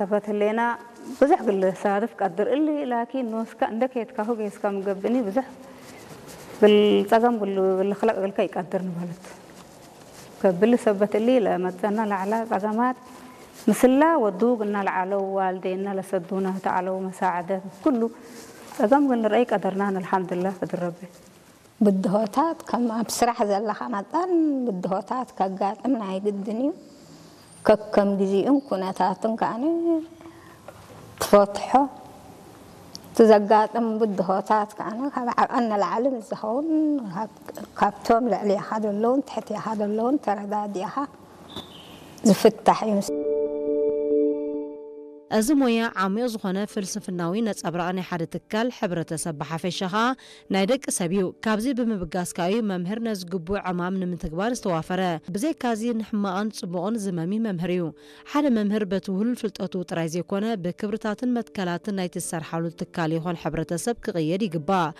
ሰበት ህሌና ብዙሕ ግል ሳድፍ ቀድር እሊ ላኪን ንወስካ እንደ ከየትካሁ ገይስካ ምገብእኒ ብዙሕ ግል ጸገም ግሉ ግል ክለቅ ግልካ ይቀድር ንበለት። ከብል ሰበት እሊ ለመጸና ለዓላ ጸገማት ምስላ ወዱ ግና ለዓለው ዋልዴና ለሰዱና ተዓለው መሳዕደት ኩሉ ጸገም ግን ንረአይ ቀደርናን ኣልሓምዱላ ክድረበ። ብድሆታት ከም ኣብ ስራሕ ዘለኻ መጠን ብድሆታት ከጋጥም ናይ ግድን እዩ። ከከም ግዜኡን ኩነታቱን ከዓኒ ትፈትሖ። እቲ ዘጋጥም ብድሆታት ከዓኒ ካብ ዓቐን ንላዕሊ ምስ ዝኸውን ካብ- ካብቶም ልዕሊኻ ዘለውን ትሕቲኻ ዘለውን ተረዳዲእኻ ዝፍታሕ እዩ። እዚ ሞያ ዓሚቕ ዝኾነ ፍልስፍናዊ ነጸብራቕ ናይ ሓደ ትካል፣ ሕብረተሰብ ብሓፈሻ ኸኣ ናይ ደቂ ሰብ እዩ። ካብዚ ብምብጋስ ከኣ እዩ መምህር ነዚ ግቡእ ዕማም ንምትግባር ዝተዋፈረ። ብዘይካዚ ንሕማቕን ጽቡቕን ዝመሚ መምህር እዩ። ሓደ መምህር በቲ ውህሉል ፍልጠቱ ጥራይ ዘይኮነ ብክብርታትን መትከላትን ናይቲ ዝሰርሓሉ ትካል ይኹን ሕብረተሰብ ክቕየድ ይግባእ።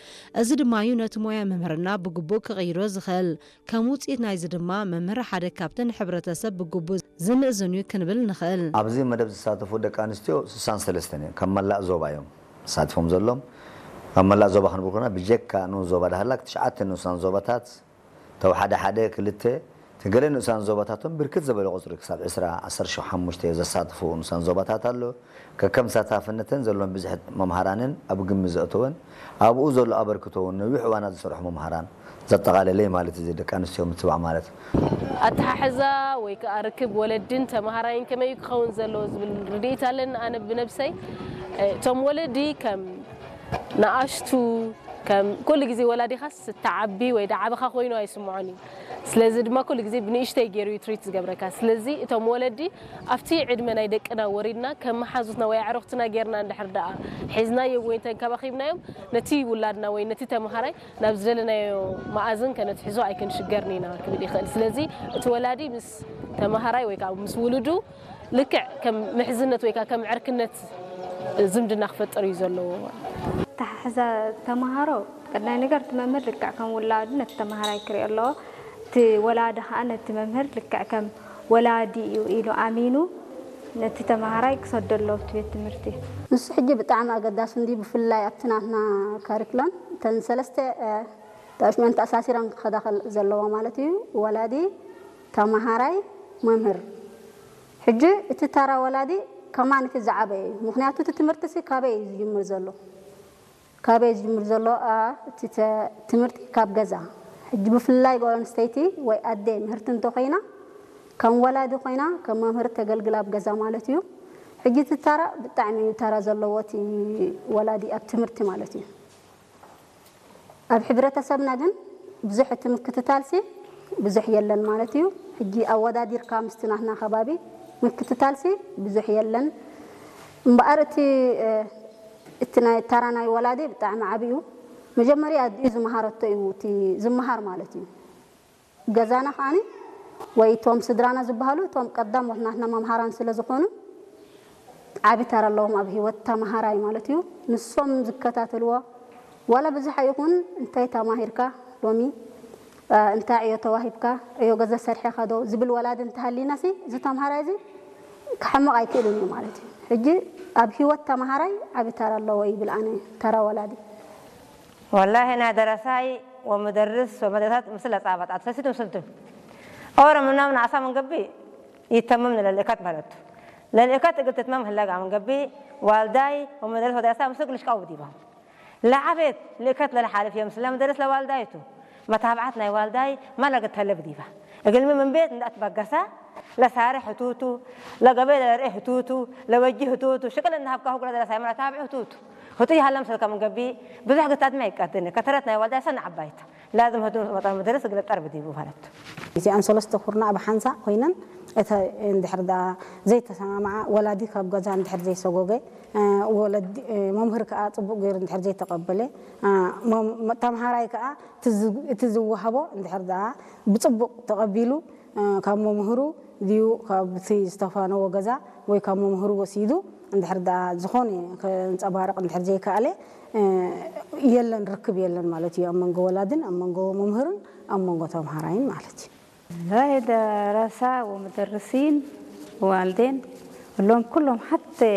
እዚ ድማ እዩ ነቲ ሞያ መምህርና ብግቡእ ክቕይሮ ዝኽእል። ከም ውጽኢት ናይዚ ድማ መምህር ሓደ ካብቲ ንሕብረተሰብ ብግቡእ ዝምእዝን እዩ ክንብል ንኽእል። ኣብዚ መደብ ዝሳተፉ ደቂ ኣንስትዮ ስሳን ሰለስተን እየን። ካብ መላእ ዞባ እዮም ተሳቲፎም ዘሎም። ካብ መላእ ዞባ ክንብል ከለና ብጀካ ንኡስ ዞባ ዳህላክ ትሽዓተ ንኡሳን ዞባታት ተው ሓደ ሓደ ክልተ እቲ ገለ ንኡሳን ዞባታቶም ብርክት ዝበለ ቁፅሪ ክሳብ ዕስራ ዓሰርተ ሓሙሽተ ዘሳትፉ ንኡሳን ዞባታት ኣሎ። ከከም ተሳታፍነተን ዘለዎም ብዝሒ መምሃራንን ኣብ ግምት ዘእተወን ኣብኡ ዘሎ ኣበርክቶ እውን ነዊሕ እዋናት ዝሰርሑ መምሃራን ዘጠቓለለ እዩ ማለት እዩ። ደቂ ኣንስትዮ ምትባዕ ማለት ኣተሓሕዛ ወይ ከዓ ርክብ ወለድን ተምሃራይን ከመይ ክኸውን ዘለዎ ዝብል ርድኢት ኣለኒ። ኣነ ብነብሰይ እቶም ወለዲ ከም ንኣሽቱ ከም ኩሉ ግዜ ወላዲኻስ እተዓቢ ወይ ደዓበኻ ኮይኑ ኣይስምዖን እዩ። ስለዚ ድማ ኩሉ ግዜ ብንእሽተይ ገይሩ እዩ ትሪት ዝገብረካ። ስለዚ እቶም ወለዲ ኣብቲ ዕድመ ናይ ደቅና ወሪድና ከም መሓዙትና ወይ ኣዕሩኽትና ገይርና እንድሕር ደኣ ሒዝናዮም ወይ ተንከባኺብናዮም ነቲ ውላድና ወይ ነቲ ተምሃራይ ናብ ዝደለናዮ መኣዝን ከነትሕዞ ኣይክንሽገርን ኢና ክብል ይኽእል። ስለዚ እቲ ወላዲ ምስ ተምሃራይ ወይ ከዓ ምስ ውሉዱ ልክዕ ከም ምሕዝነት ወይ ከዓ ከም ዕርክነት ዝምድና ክፈጥር እዩ ዘለዎ። ኣተሓሕዛ ተምሃሮ ቀዳይ ነገር እቲ መምህር ልክዕ ከም ውላዱ ነቲ ተምሃራይ ክሪኦ ኣለዎ። እቲ ወላዲ ከዓ ነቲ መምህር ልክዕ ከም ወላዲ እዩ ኢሉ ኣሚኑ ነቲ ተምሃራይ ክሰዶ ኣለዎ ኣብቲ ቤት ትምህርቲ። ንሱ ሕጂ ብጣዕሚ ኣገዳሲ እንዲ ብፍላይ ኣብቲ ናትና ካሪክሎም እተን ሰለስተ ተኣሽመን ተኣሳሲረን ክኸዳ ዘለዋ ማለት እዩ። ወላዲ፣ ተምሃራይ፣ መምህር። ሕጂ እቲ ተራ ወላዲ ከማን እቲ ዝዓበየ እዩ። ምኽንያቱ እቲ ትምህርቲ ሲ ካበይ እዩ ዝጅምር ዘሎ? ካበይ ዝጅምር ዘሎ? እቲ ትምህርቲ ካብ ገዛ። ሕጂ ብፍላይ ጓል ኣንስተይቲ ወይ ኣደ ምህርቲ እንተኮይና ከም ወላዲ ኮይና ከም መምህር ተገልግል ኣብ ገዛ ማለት እዩ። ሕጂ እቲ ተራ ብጣዕሚ እዩ ተራ ዘለዎ እቲ ወላዲ ኣብ ትምህርቲ ማለት እዩ። ኣብ ሕብረተሰብና ግን ብዙሕ እቲ ምክትታልሲ ብዙሕ የለን ማለት እዩ። ሕጂ ኣወዳዲርካ ምስቲ ናትና ከባቢ ምክትታልሲ ብዙሕ የለን። እምበኣር እቲ እቲ ናይ ተራ ናይ ወላዲ ብጣዕሚ ዓብዩ መጀመርያ ኣዲኡ ዝመሃረቶ እዩ እቲ ዝመሃር ማለት እዩ። ገዛና ከዓኒ ወይ እቶም ስድራና ዝበሃሉ እቶም ቀዳሞት ናትና መምሃራን ስለ ዝኾኑ ዓቢ ተራ ኣለዎም ኣብ ህይወት ተማሃራይ ማለት እዩ። ንሶም ዝከታተልዎ ዋላ ብዙሕ ኣይኹን እንታይ ተማሂርካ ሎሚ እንታይ ዕዮ ተዋሂብካ ዕዮ ገዛ ሰሪሕኻ ዶ ዝብል ወላዲ እንተሃሊና ሲ እዚ ተምሃራይ እዚ ክሓምቕ ኣይክእልን እዩ ማለት እዩ። ሕጂ ኣብ ህይወት ተምሃራይ ዓቢ ተራ ኣለዎ ይብል ኣነ ተራ ወላዲ። والله أنا درساي ومدرس ومدرسات مثل أصابت أتفسد مسلتم أورا من نام نعصا من قبي يتمم للإكات بلدتو للإكات قلت تمام هلا من قبي والداي ومدرس ودرساي مسك لشكاو ديبا ለዓቤት ልእከት ለለሓልፍ እዮም ስለ ምደርስ ለዋልዳይቱ መታብዓት ናይ ዋልዳይ ማለገት ተለ ብዲባ እግልሚ ምን ቤት እንዳትበገሳ ለሳርሕ ህቱቱ ለገበይ ለርኤ ህቱቱ ለወጂ ህቱቱ ሽቅል እንዳሃብካ ሁጉላ ደረሳይ መራ ታብዕ ህቱቱ ህቱ ይሃለም ሰልከ ምንገቢ ብዙሕ ግታት ማይ ይቀድኒ ከተረት ናይ ዋልዳይ ሰነ ዓባይታ ላዝም ህቱ መጠን ምደርስ እግለ ጠርብ ዲቡ ማለት እዚኣን ሰለስተ ኩርና ኣብ ሓንሳ ኮይነን እተ እንድሕር ደኣ ዘይተሰማማዓ ወላዲ ካብ ገዛ እንድሕር ዘይሰጎገ ወለዲ መምህር ከዓ ፅቡቅ ገይሩ እንድሕር ዘይተቀበለ ተምሃራይ ከዓ እቲ ዝወሃቦ እንድሕር ደኣ ብፅቡቅ ተቀቢሉ ካብ መምህሩ ድዩ ካብቲ ዝተፋነዎ ገዛ ወይ ካብ መምህሩ ወሲዱ እንድሕር ደኣ ዝኾነ ከንፀባርቅ እንድሕር ዘይከኣለ የለን ርክብ የለን ማለት እዩ ኣብ መንጎ ወላድን ኣብ መንጎ መምህርን ኣብ መንጎ ተምሃራይን ማለት እዩ لا ده رسا ومدرسين ووالدين اللهم كلهم حتى